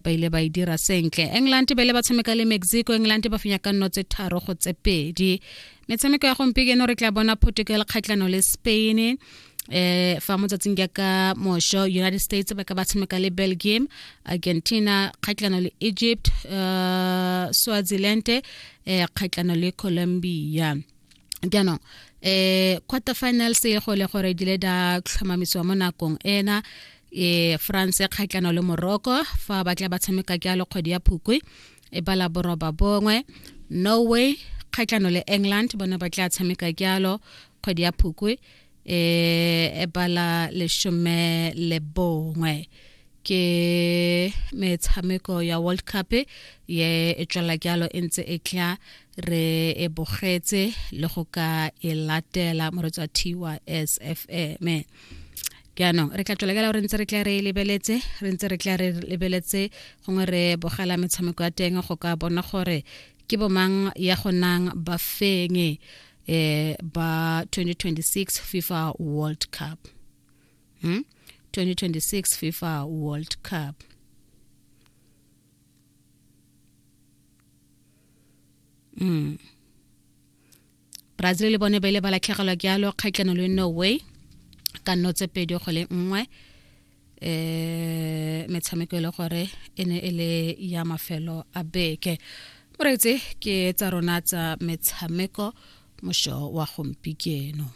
Ba ile ba e dira sentle. England ba ile ba tshameka le Mexico, England ba fenya ka nno tse 3 go tse 2. Metshameko ya gompieno re tla bona Portugal kgatlhano le Spain. Fa motsatsing jaaka mosho, United States ba ka ba tshameka le Belgium, Argentina kgatlhano le Egypt, Swaziland kgatlhano le Colombia. Jaanong quarter finals e go le gore di le da tlhomamisiwa mo nakong ena, France kgatlhano le Morocco, fa ba tla ba tshameka jalo kgwedi ya Phukwi e bala 9. Norway kgatlhano le England, bone ba tla tshameka jalo kgwedi ya Phukwi e bala 11. Ke metshameko ya World Cup ye e tswela jalo e ntse e tla re e bogetse le go ka e latela moretsi wa TYS FM. Jaanong re tla tswela jalo re ntse re tla re lebeletse, re ntse re tla re lebeletse, gongwe re bogela metshameko ya teng go ka bona gore ke bomang ya go nang bafenyi ba 2026 FIFA World Cup. 2026 FIFA World Cup. Brazil le bone ba ile ba latlhegelwa jalo kgatlhano le Norway ka nno tse 2 go 1. Metshameko e le gore e ne e le ya mafelo a beke, moreetsi, ke tsa rona tsa metshameko mošo wa gompieno.